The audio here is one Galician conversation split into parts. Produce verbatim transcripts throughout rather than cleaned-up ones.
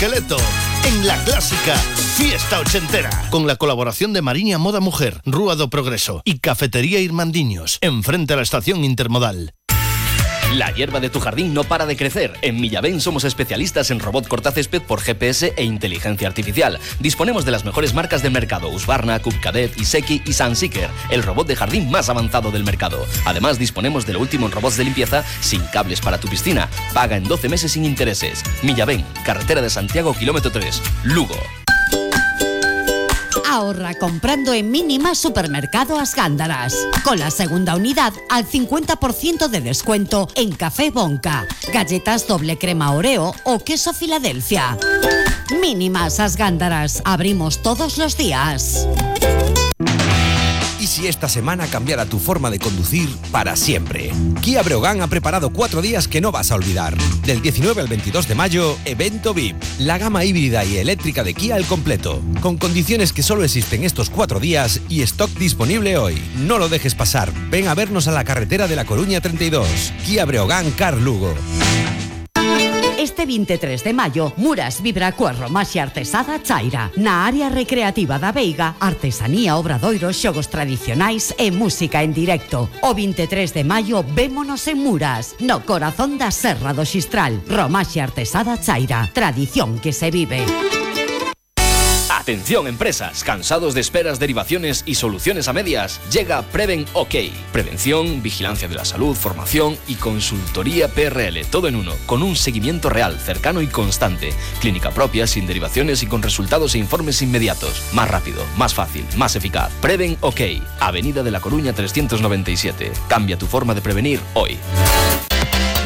Esqueleto en la clásica Fiesta Ochentera, con la colaboración de Mariña Moda Mujer, Rúa do Progreso y Cafetería Irmandiños, enfrente a la estación intermodal. La hierba de tu jardín no para de crecer. En Millavén somos especialistas en robot cortacésped por G P S e inteligencia artificial. Disponemos de las mejores marcas del mercado: Husqvarna, Cub Cadet, Iseki y Sunseeker, el robot de jardín más avanzado del mercado. Además, disponemos de lo último en robots de limpieza sin cables para tu piscina. Paga en doce meses sin intereses. Millavén, carretera de Santiago, kilómetro tres, Lugo. Ahorra comprando en Mínima Supermercado As Gándaras. Con la segunda unidad al cincuenta por ciento de descuento en café Bonca, galletas doble crema Oreo o queso Filadelfia. Mínimas As Gándaras. Abrimos todos los días. ¿Y si esta semana cambiara tu forma de conducir para siempre? Kia Breogán ha preparado cuatro días que no vas a olvidar. Del diecinueve al veintidós de mayo, evento V I P. La gama híbrida y eléctrica de Kia al completo. Con condiciones que solo existen estos cuatro días y stock disponible hoy. No lo dejes pasar. Ven a vernos a la carretera de La Coruña treinta y dos. Kia Breogán Car Lugo. Este veintitrés de maio, Muras vibra coa romaxe artesada Chaira. Na área recreativa da Veiga, artesanía, obradoiros, xogos tradicionais e música en directo. O veintitrés de maio, vémonos en Muras, no corazón da Serra do Xistral. Romaxe artesada Chaira. Tradición que se vive. Atención empresas, cansados de esperas, derivaciones y soluciones a medias. Llega Preven OK. Prevención, vigilancia de la salud, formación y consultoría P R L, todo en uno, con un seguimiento real, cercano y constante. Clínica propia, sin derivaciones y con resultados e informes inmediatos. Más rápido, más fácil, más eficaz. Preven OK. Avenida de La Coruña trescientos noventa y siete. Cambia tu forma de prevenir hoy.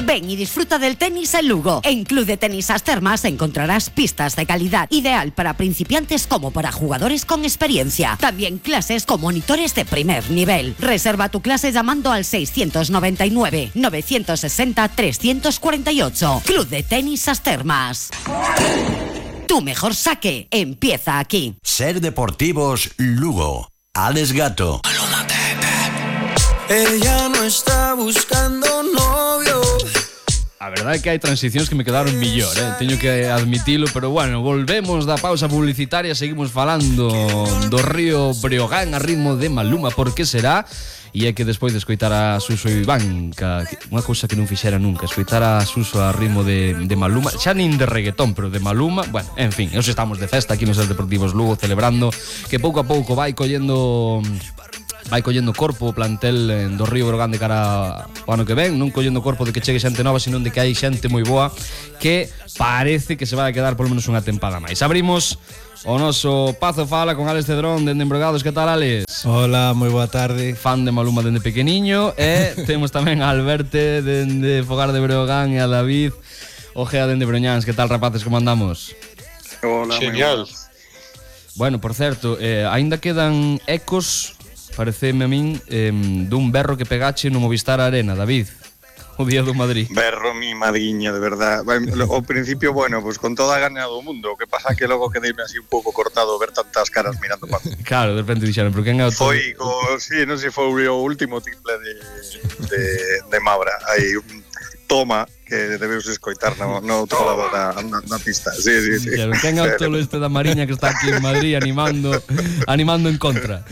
Ven y disfruta del tenis en Lugo. En Club de Tenis As Termas encontrarás pistas de calidad, ideal para principiantes como para jugadores con experiencia. También clases con monitores de primer nivel. Reserva tu clase llamando al seiscientos noventa y nueve, novecientos sesenta, trescientos cuarenta y ocho. Club de Tenis As Termas. Tu mejor saque empieza aquí. Ser Deportivos Lugo. Alex Gato. Ella no está buscando novio. A verdade é que hai transicións que me quedaron millor, eh? Teño que admitilo, pero bueno, volvemos da pausa publicitaria, seguimos falando do río Breogán a ritmo de Maluma, por que será? E é que despois de escoitar a Suso e Iván, unha cousa que non fixera nunca, escoitar a Suso a ritmo de, de Maluma, xa nin de reggaetón, pero de Maluma, bueno, en fin, nos estamos de festa aquí nos Ser Deportivos Lugo, celebrando que pouco a pouco vai collendo... vai collendo corpo o plantel do Río Breogán de cara ao ano que ven, non collendo corpo de que chegue xente nova, sino de que hai xente moi boa que parece que se vai a quedar polo menos unha tempada máis. Abrimos o noso Pazo Fala con Alex Cedrón dende Embregados. Que tal, Alex? Hola, moi boa tarde. Fan de Maluma dende pequeniño. E temos tamén a Alberte dende Fogar de Breogán e a David Ojea dende Broñáns. Que tal, rapaces, como andamos? Hola, genial. Bueno, por certo, eh, aínda quedan ecos, pareceme a min, eh, dun berro que pegache no Movistar Arena, David, o día do Madrid. Berro mi madriña, de verdad. Ao principio, bueno, pues con toda a gana do mundo. O que pasa que logo quedeime así un pouco cortado ver tantas caras mirando para mí. Claro, de repente dixeron, pero quen é o todo? Foi, co, sí, non sei, foi o último triple de, de, de Mabra. Hai un toma que debemos escoitar no, no outro lado da, na, na pista. Sí, sí, sí. Claro, quen é o tolo este da Mariña que está aquí en Madrid animando animando en contra.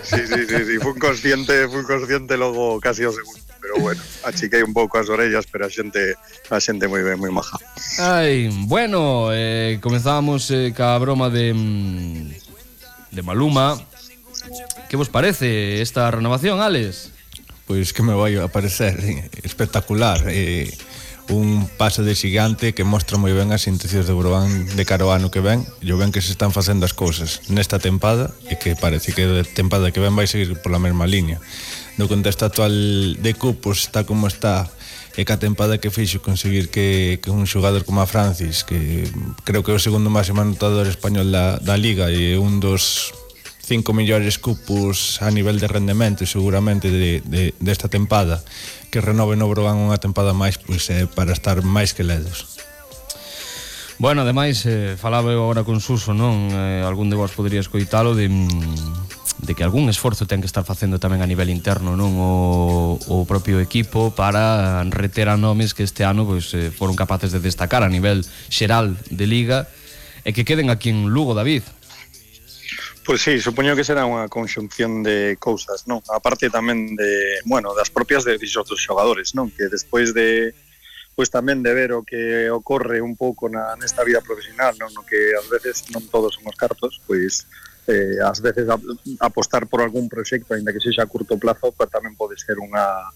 Sí, sí, sí, sí. Fui consciente, fui consciente logo casi ao segundo. Pero bueno, achiquei un pouco as orellas, pero a xente a xente moi ben, moi maja. Ai, bueno, eh, comenzábamos eh, ca broma de de Maluma. Que vos parece esta renovación, Alex? Pois que me vai a parecer espectacular, eh, un paso de xigante que mostra moi ben as intencións de Breogán de cara ao ano que ven, e o ben que se están facendo as cousas nesta tempada, e que parece que a tempada que ven vai seguir pola mesma línea. No contexto actual de cupos está como está, e que a tempada que fixo conseguir que, que un xogador como a Francis, que creo que é o segundo máximo anotador español da, da Liga e un dos cinco millores cupos a nivel de rendemento seguramente de, de, desta tempada, que renove no Breogán unha tempada máis, pois é para estar máis que ledos. Bueno, ademais, eh, falaba eu agora con Suso, non? Eh, algún de vos podría escoitalo de, de que algún esforzo ten que estar facendo tamén a nivel interno, non, o, o propio equipo para reter a nomes que este ano pois, eh, foron capaces de destacar a nivel xeral de Liga e que queden aquí en Lugo, David. Pois sí, supoño que será unha conxunción de cousas, non? A parte tamén de, bueno, das propias de dos xogadores, non? Que despois de pois tamén de ver o que ocorre un pouco na nesta vida profesional, non? No que ás veces non todos somos cartos, pois eh, ás veces a, apostar por algún proxecto, aínda que sexa a curto plazo, pues, tamén pode ser unha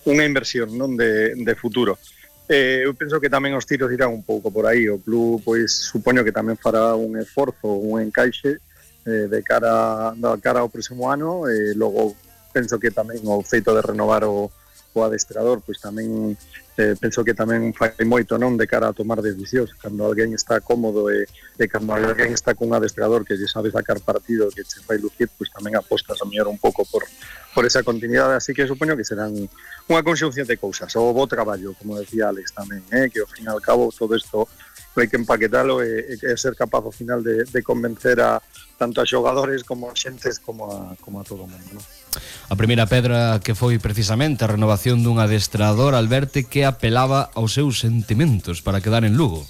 unha inversión, non, de, de futuro. Eh, eu penso que tamén os tiros irán un pouco por aí. O club, pois, supoño que tamén fará un esforzo, un encaixe eh, de cara da cara ao próximo ano, e eh, logo penso que tamén o feito de renovar o, o adestrador, pois tamén eh, penso que tamén fai moito, non, de cara a tomar decisións. Cando alguén está cómodo e, e cando alguén está cun adestrador que lle sabe sacar partido, que se fai lucir, pois tamén apostas a mellor un pouco por, por esa continuidade. Así que supoño que serán unha conxunción de cousas. O bo traballo, como decía Alex tamén, eh, que ao fin e ao cabo todo isto hai que empaquetalo e, e ser capaz ao final de, de convencer a tanto a xogadores como a xentes como a, como a todo o mundo, non? A primeira pedra que foi precisamente a renovación dun adestrador, Alberte, que apelaba aos seus sentimentos para quedar en Lugo.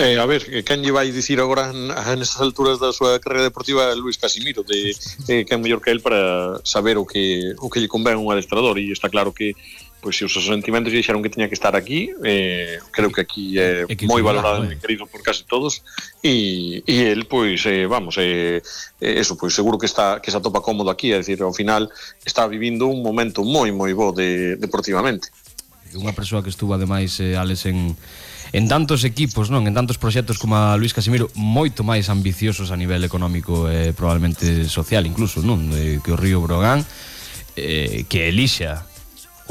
Eh, a ver, quen lle vai dicir agora nestas alturas da súa carreira deportiva Luís Casimiro de eh, quen mellor que el para saber o que o que lle convén un adestrador, e está claro que pois se os seus sentimentos lle dixeron que tiña que estar aquí, eh, creo que aquí é eh, moi valorado e querido por casi todos, e, e el, pois, eh, vamos, eh, eso, pois seguro que está que se atopa cómodo aquí, é dicir, ao final está vivindo un momento moi, moi bo de, deportivamente. Unha persoa que estuvo, ademais, eh, Alex, en, en tantos equipos, non, en tantos proxectos como a Luís Casimiro, moito máis ambiciosos a nivel económico e eh, probablemente social, incluso, non, eh, que o Río Brogan, eh, que elixa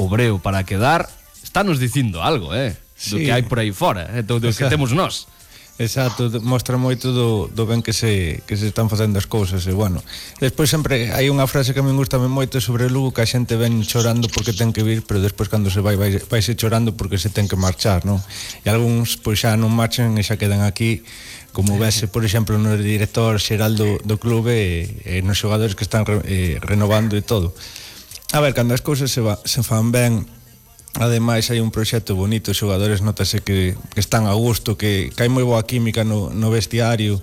o Breo para quedar, está nos dicindo algo, eh, do sí, que hai por aí fora, eh, do, do que temos nós. Exacto, mostra moito do, do ben que se, que se están facendo as cousas. E bueno, despois sempre hai unha frase que a mí gusta moito sobre Lugo, que a xente ven chorando porque ten que vir, pero despois cando se vai, vai, vai se chorando porque se ten que marchar, non? E algúns pois xa non marchan e xa quedan aquí, como vese, por exemplo, no director xeral do, do clube e, e nos xogadores que están re, eh, renovando e todo. A ver, cando as cousas se, va, se fan ben, ademais hai un proxecto bonito, os xogadores notase que, que están a gusto, que, que hai moi boa química no, no vestiario,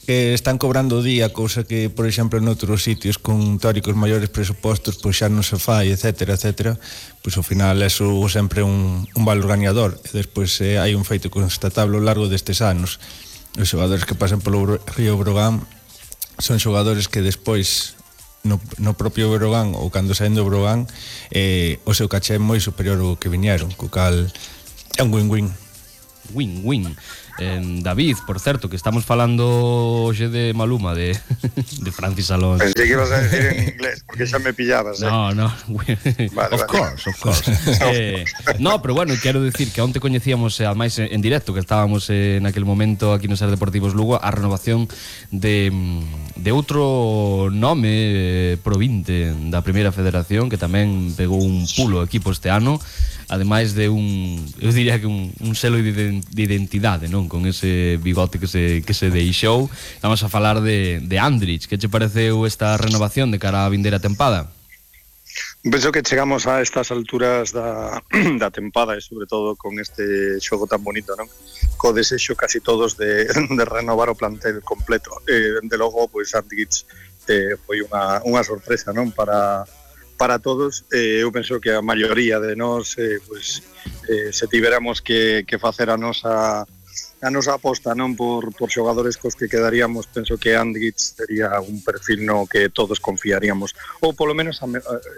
que están cobrando o día, cousa que, por exemplo, en outros sitios con teóricos maiores presupostos, pois xa non se fai, etcétera, etcétera, pois ao final é sempre un, un valor gañador. E despois eh, hai un feito constatable ao largo destes anos. Os xogadores que pasan polo Río Brogan son xogadores que despois no, no propio Brogan ou cando saen do Brogan eh, o seu caché é moi superior ao que viñeron, co cal é un win-win. Win-win. Eh, David, por certo, que estamos falando hoxe de Maluma, de, de Francis Alonso. Pensei que ibas a decir en inglés, porque xa me pillabas, eh? No, no. Vale, of vale. course, of course. eh, no, pero bueno, quero dicir que onte coñecíamos, eh, ademais en directo, que estábamos eh, naquele momento aquí no Ser Deportivos Lugo, a renovación de, de outro nome eh, provinte da Primeira Federación, que tamén pegou un pulo ao equipo este ano, ademais de un, eu diría que un, un selo de, de identidade, non? Con ese bigote que se, que se deixou. Vamos a falar de, de Andrich. Que che pareceu esta renovación de cara á vindeira tempada? Penso que chegamos a estas alturas da, da tempada e sobre todo con este xogo tan bonito, non? Co desexo casi todos de, de renovar o plantel completo. E, de logo, pois, Andrich eh, foi unha, unha sorpresa, non? Para... para todos. Eh, eu penso que a maioría de nós eh, pues, eh, se tiveramos que, que facer a nosa a nosa aposta, non, por, por xogadores cos que quedaríamos, penso que Andrich sería un perfil no que todos confiaríamos, ou polo menos a,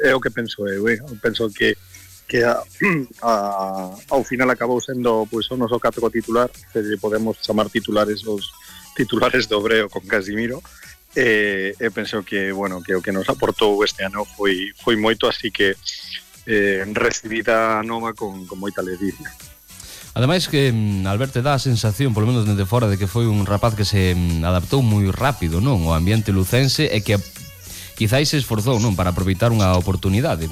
é o que penso eu, eh? penso que que a, a, ao final acabou sendo pois, o noso catro titular, se podemos chamar titulares os titulares do Breo con Casimiro. E, e penso que, bueno, que o que nos aportou este ano foi, foi moito, así que eh, recibida nova con, con moita alegría. Ademais que Alberto dá a sensación, polo menos desde fora, de que foi un rapaz que se adaptou moi rápido, non, ao ambiente lucense, e que quizáis se esforzou, non, para aproveitar unha oportunidade.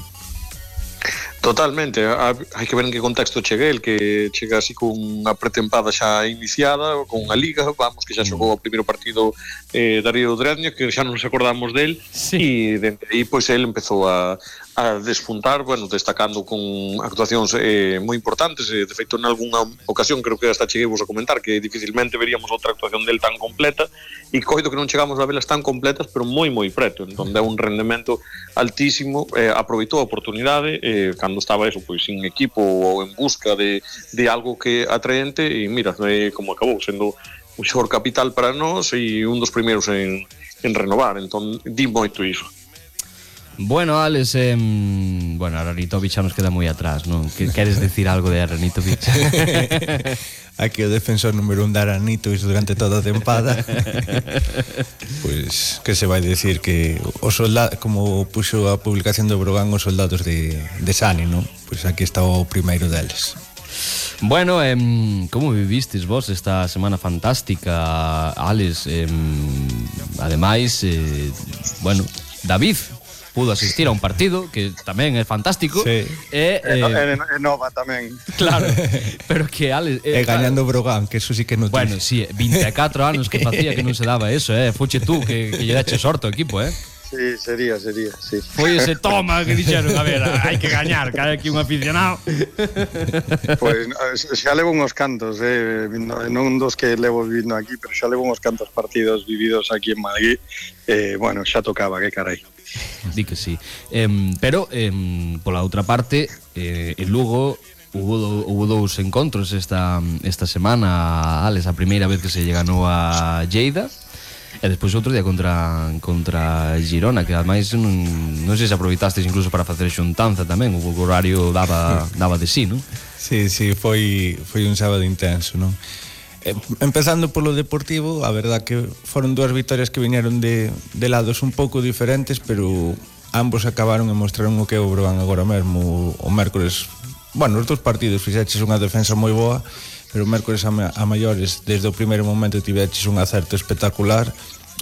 Totalmente, hai que ver en que contexto chega el, que chega así con unha pretempada xa iniciada, con unha liga, vamos, que xa xogou o primeiro partido eh, Darío Drednia, que xa non nos acordamos del, sí. E dende aí, pois, el empezou a, a despuntar, bueno, destacando con actuacións eh, moi importantes, eh, de feito, en algunha ocasión, creo que hasta cheguemos a comentar, que dificilmente veríamos outra actuación del tan completa, e coido que non chegamos a velas tan completas, pero moi, moi preto, entón, deu un rendemento altísimo, eh, aproveitou a oportunidade, eh, cando estaba eso, pois, sin equipo ou en busca de, de algo que atraente, e mira, eh, como acabou sendo un xor capital para nós e un dos primeiros en, en renovar, entón di moito iso. Bueno, Alex, eh, bueno, Aranitovic xa nos queda moi atrás, non? Que queres decir algo de Aranitovic? Aquí o defensor número un de Aranitovic durante toda a tempada. Pois, que se vai decir que os soldados, como puxo a publicación do Brogan, os soldados de, de Sani, non? Pois aquí está o primeiro deles. Bueno, eh, como vivistes vos esta semana fantástica, Alex? Eh, ademais, eh, bueno, David pudo asistir a un partido que tamén é fantástico. Sí. E, eh, eh, e nova tamén. Claro, pero que Alex... Eh, e gañando o Brogan, que eso sí que non... Bueno, sí, vinte e catro anos que facía que non se daba eso, eh. Fuche tú que, que lle dache sorte ao equipo, eh. Sí, sería, sería, sí. Foi ese toma que dixeron, a ver, hai que gañar, que hai aquí un aficionado. Pois pues, xa levo uns cantos, eh, non dos que levo vivindo aquí, pero xa levo uns cantos partidos vividos aquí en Madrid. Eh, bueno, xa tocaba, que carai. Di que sí. Eh, pero, eh, pola outra parte, eh, en Lugo hubo, do, hubo dous encontros esta, esta semana, Alex, a primeira vez que se lle ganou a Lleida, e despois outro día contra contra Girona, que ademais non, non sei se aproveitastes incluso para facer xuntanza tamén, o horario daba, daba de sí, non? Sí, sí, foi, foi un sábado intenso, non? Eh, empezando polo Deportivo, a verdad que foron dúas vitorias que viñeron de, de lados un pouco diferentes, pero ambos acabaron e mostraron o que o Brogan agora mesmo. O mércores, bueno, os dous partidos fixeches unha defensa moi boa, pero o mércores a, ma a maiores, desde o primeiro momento tiveches un acerto espectacular,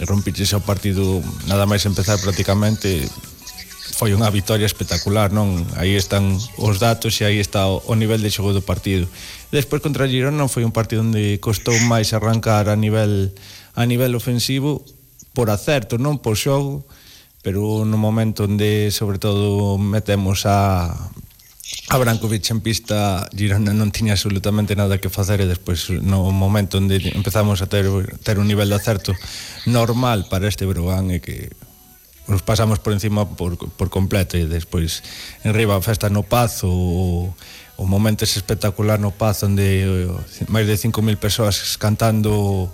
e rompiches o partido nada máis empezar prácticamente. Foi unha victoria espectacular, non? Aí están os datos e aí está o, o nivel de xogo do partido. Despois contra Girona foi un partido onde costou máis arrancar a nivel a nivel ofensivo por acerto, non por xogo, pero no momento onde sobre todo metemos a a Brankovic en pista, Girona non tiña absolutamente nada que facer, e despois no momento onde empezamos a ter, ter un nivel de acerto normal para este Brogan, e que nos pasamos por encima por, por completo, e despois en riba a festa no Pazo, o, o momento ese espectacular no Pazo onde máis de cinco mil persoas cantando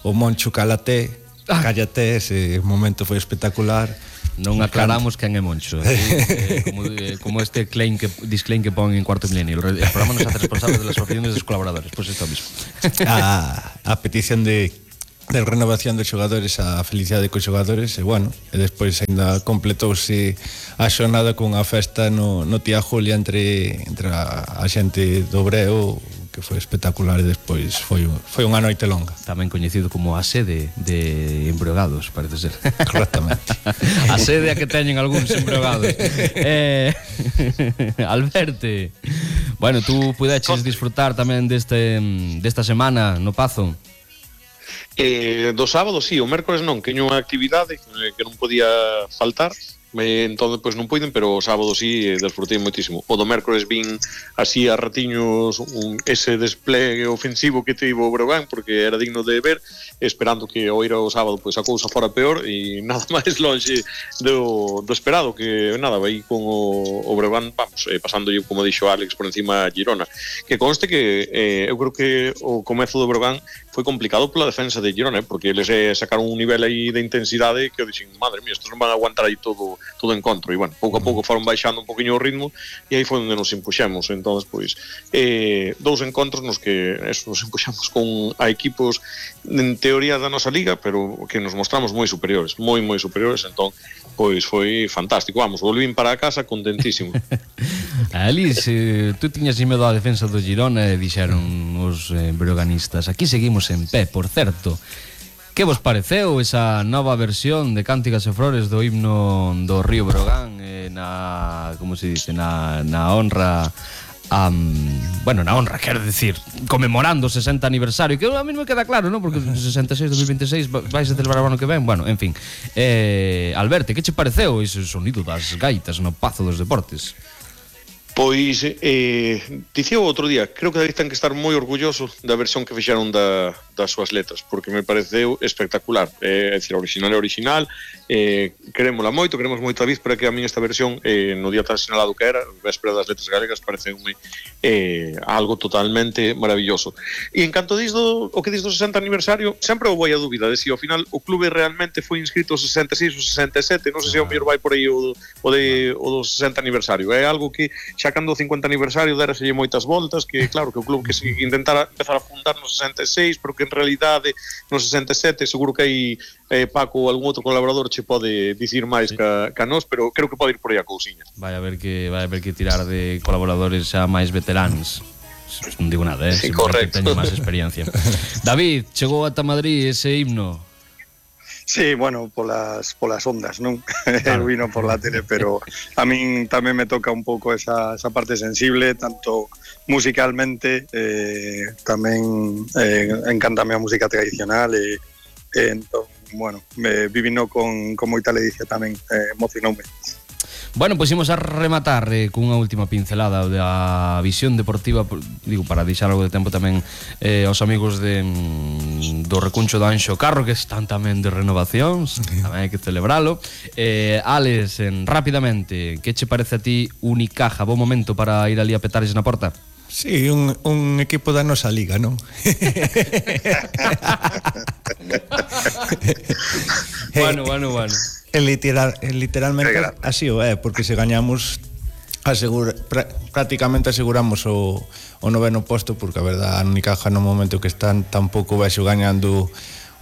o Moncho Calaté, ah. Cállate, ese momento foi espectacular. Non aclaramos quen é Moncho, eh, eh, como, eh, como este claim que, disclaim que pon en Cuarto Milenio. El programa non se hace responsable de las opiniones dos colaboradores. Pois pues isto mismo. A, a petición de de renovación dos xogadores, a felicidade cos xogadores, e bueno, e despois ainda completouse a xornada con a festa no, no Tía Julia entre, entre a, a xente do Breo, que foi espectacular, e despois foi, foi unha noite longa. Tamén coñecido como a sede de embregados, parece ser. Correctamente. A sede a que teñen algúns embregados. eh, Alberte, bueno, tú pudeches disfrutar tamén deste, desta semana no Pazo? Eh, do sábado, sí, o mércores non, que unha actividade que non podía faltar. Eh, entón, pois non puiden, pero o sábado sí, eh, desfrutei moitísimo. O do mércores vin así a ratiños un, ese desplegue ofensivo que tivo o Brogan, porque era digno de ver, esperando que ao ir ao sábado pois a cousa fora peor, e nada máis longe do, do esperado, que nada, vai con o, o Brogan, vamos, eh, pasando eu, como dixo Alex, por encima a Girona. Que conste que eh, eu creo que o comezo do Brogan foi complicado pola defensa de Girona, eh, porque eles eh, sacaron un nivel aí de intensidade que eu dixen, madre mía, estos non van a aguantar aí todo todo encontro, e bueno, pouco a pouco foron baixando un poquinho o ritmo, e aí foi onde nos impuxemos. Entón, pois, eh, dous encontros nos que eso, nos impuxemos con a equipos en teoría da nosa liga, pero que nos mostramos moi superiores, moi moi superiores, entón, pois foi fantástico. Vamos, volvín para a casa contentísimo. Alice, eh, tú tiñas medo á defensa do Girona e dixeron os eh, broganistas, aquí seguimos en pé, por certo. Que vos pareceu esa nova versión de Cánticas e Flores do himno do Río Brogan, eh, na, como se dice, na, na honra Um, bueno, na honra, quero decir, conmemorando o sesenta aniversario, que a mí me queda claro, ¿no? Porque sesenta e seis, dos mil veintiséis vais a celebrar o ano que ven. Bueno, en fin, eh, Alberto, que che pareceu ese sonido das gaitas no Pazo dos Deportes? Pois, eh, dicía o outro día, creo que David ten que estar moi orgulloso da versión que fixeron da, das súas letras, porque me pareceu espectacular. Eh, é dicir, original é original, eh, querémola moito, queremos moito a David, pero que a min esta versión, eh, no día tan sinalado que era, véspera das letras galegas, pareceume eh, algo totalmente maravilloso. E en canto disto, o que dis do sesenta aniversario, sempre houve a dúbida de si ao final o clube realmente foi inscrito o sesenta e seis ou sesenta e sete, non sei se ao mellor vai por aí o, o, de, o do sesenta aniversario. É algo que xa cando o cincuenta aniversario deraselle moitas voltas, que claro, que o club que se intentara empezar a fundar no sesenta e seis, pero que en realidade no sesenta e sete seguro que hai eh, Paco ou algún outro colaborador che pode dicir máis sí. ca, ca nós, pero creo que pode ir por aí a cousiña. Vai a ver que vai a ver que tirar de colaboradores xa máis veteranos. Non digo nada, eh, sí, correcto. Teño máis experiencia. David, chegou ata Madrid ese himno. Sí, bueno, polas polas ondas, non? Claro. Vino por la tele, pero a min tamén me toca un pouco esa, esa parte sensible, tanto musicalmente, eh, tamén eh, encántame a música tradicional e eh, entón, bueno, me vivino con, con moita ledicia tamén, eh, emocionoume. Bueno, pois imos a rematar eh, cunha última pincelada da visión deportiva, digo, para deixar algo de tempo tamén eh, aos amigos de, mm, do Recuncho do Anxo Carro, que están tamén de renovacións, tamén hai que celebralo. eh, Alex, en, rápidamente, que che parece a ti Unicaja? Bo momento para ir ali a petares na porta? Sí, un, un equipo da nosa liga, non? Bueno, bueno, bueno. Literal, literalmente así o é, porque se gañamos asegura, pra, prácticamente aseguramos o, o noveno posto, porque a verdad a Unicaja no momento que están tampouco vexo gañando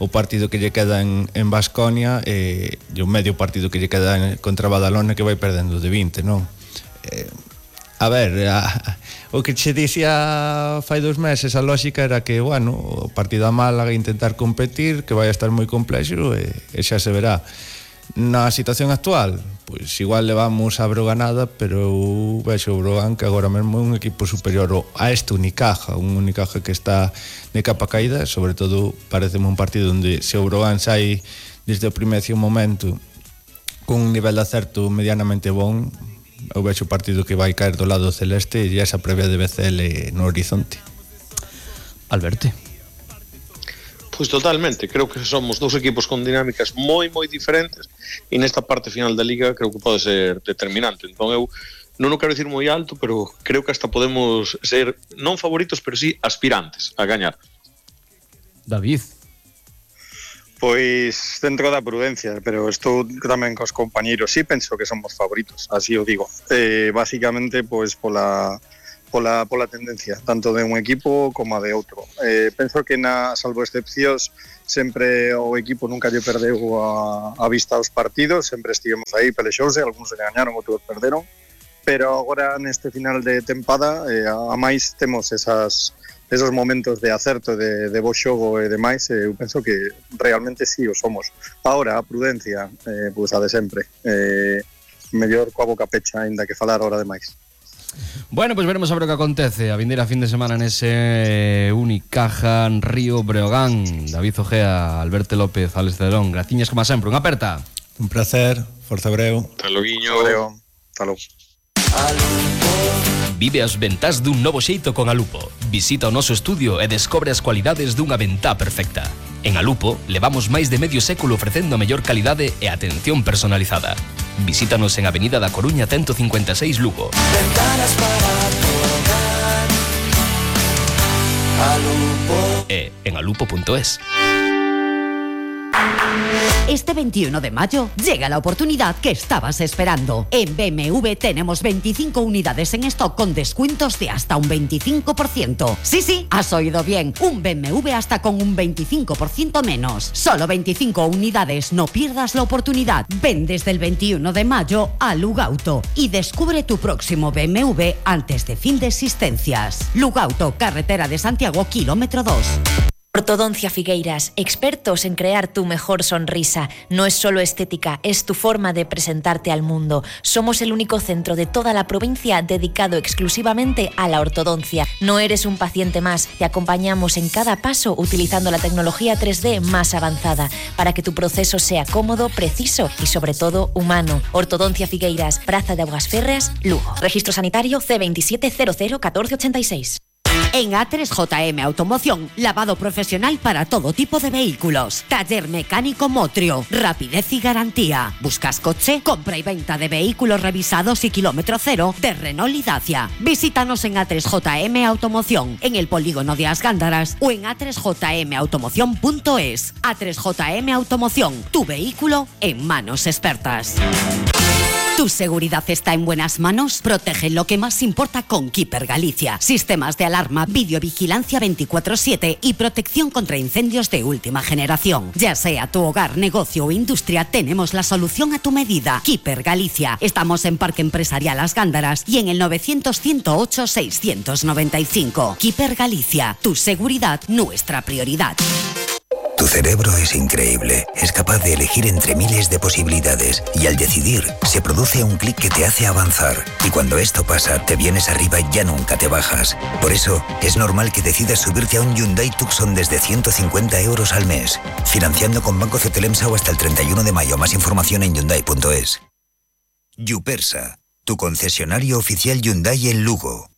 o partido que lle queda en, en Baskonia e, e o medio partido que lle queda en, contra Badalona, que vai perdendo de vinte, non? Eh, a ver, a, o que che dixía fai dos meses, a lógica era que, bueno, o partido a Málaga intentar competir, que vai a estar moi complexo e, e xa se verá. Na situación actual, pois igual levamos a Broganada, pero eu vexo o Brogan que agora mesmo é un equipo superior a este Unicaja, un Unicaja que está de capa caída, sobre todo pareceme un partido onde se o Brogan sai desde o primeiro momento con un nivel de acerto medianamente bon, eu vexo o partido que vai caer do lado celeste e esa previa de B C L no horizonte. Alberto. Pois totalmente, creo que somos dous equipos con dinámicas moi moi diferentes e nesta parte final da Liga creo que pode ser determinante. Entón eu non o quero dicir moi alto, pero creo que hasta podemos ser non favoritos, pero sí aspirantes a gañar. David. Pois dentro da prudencia, pero estou tamén cos compañeiros, sí penso que somos favoritos, así o digo. Eh, basicamente, pois pola pola, pola tendencia, tanto de un equipo como de outro. Eh, penso que na salvo excepcións sempre o equipo nunca lle perdeu a, a vista aos partidos, sempre estivemos aí, pelexouse, algúns se gañaron, outros perderon, pero agora neste final de tempada eh, a máis temos esas esos momentos de acerto, de, de bo xogo e demais, eh, eu penso que realmente sí o somos. Ahora, a prudencia, eh, pois a de sempre, eh, mellor coa boca pecha, ainda que falar hora demais. Bueno, pois pues veremos a ver o que acontece a vindeira fin de semana nese Unicaja Río Breogán. David Ojea, Alberto López, Alex Cedrón, graciñas como sempre, unha aperta. Un placer, forza Breo. Hasta loguiño. Hasta logo. Vive as ventás dun novo xeito con Alupo. Visita o noso estudio e descobre as cualidades dunha ventá perfecta. En Alupo levamos máis de medio século ofrecendo a mellor calidade e atención personalizada. Visítanos en Avenida da Coruña ciento cincuenta e seis Lugo. Ventanas para tu hogar. Alupo. E en alupo punto es. Este veintiuno de mayo llega la oportunidad que estabas esperando. En B M W tenemos veinticinco unidades en stock con descuentos de hasta un veinticinco por ciento. Sí, sí, has oído bien. Un B M W hasta con un veinticinco por ciento menos. Solo veinticinco unidades, no pierdas la oportunidad. Ven desde el veintiuno de mayo a Lugauto y descubre tu próximo B M W antes de fin de existencias. Lugauto, carretera de Santiago, kilómetro dos. Ortodoncia Figueiras, expertos en crear tu mejor sonrisa. No es solo estética, es tu forma de presentarte al mundo. Somos el único centro de toda la provincia dedicado exclusivamente a la ortodoncia. No eres un paciente más, te acompañamos en cada paso utilizando la tecnología tres D más avanzada para que tu proceso sea cómodo, preciso y sobre todo humano. Ortodoncia Figueiras, Praza de Aguas Férreas, Lugo. Registro sanitario C veintisiete cero cero catorce ochenta y seis. En A tres J M Automoción, lavado profesional para todo tipo de vehículos. Taller mecánico Motrio, rapidez y garantía. ¿Buscas coche? Compra y venta de vehículos revisados y kilómetro cero de Renault y Dacia. Visítanos en A tres J M Automoción, en el polígono de As Gándaras o en a tres j m automoción punto es. A tres J M Automoción, tu vehículo en manos expertas. ¿Tu seguridad está en buenas manos? Protege lo que más importa con Keeper Galicia. Sistemas de alarma, videovigilancia veinticuatro siete y protección contra incendios de última generación. Ya sea tu hogar, negocio o industria, tenemos la solución a tu medida. Keeper Galicia. Estamos en Parque Empresarial As Gándaras y en el novecientos ciento ocho seiscientos noventa y cinco. Keeper Galicia. Tu seguridad, nuestra prioridad. Tu cerebro es increíble, es capaz de elegir entre miles de posibilidades y al decidir se produce un clic que te hace avanzar y cuando esto pasa te vienes arriba y ya nunca te bajas. Por eso es normal que decidas subirte a un Hyundai Tucson desde ciento cincuenta euros al mes, financiando con Banco Cetelemsa o hasta el treinta y uno de mayo. Más información en hyundai punto es. Yupersa, tu concesionario oficial Hyundai en Lugo.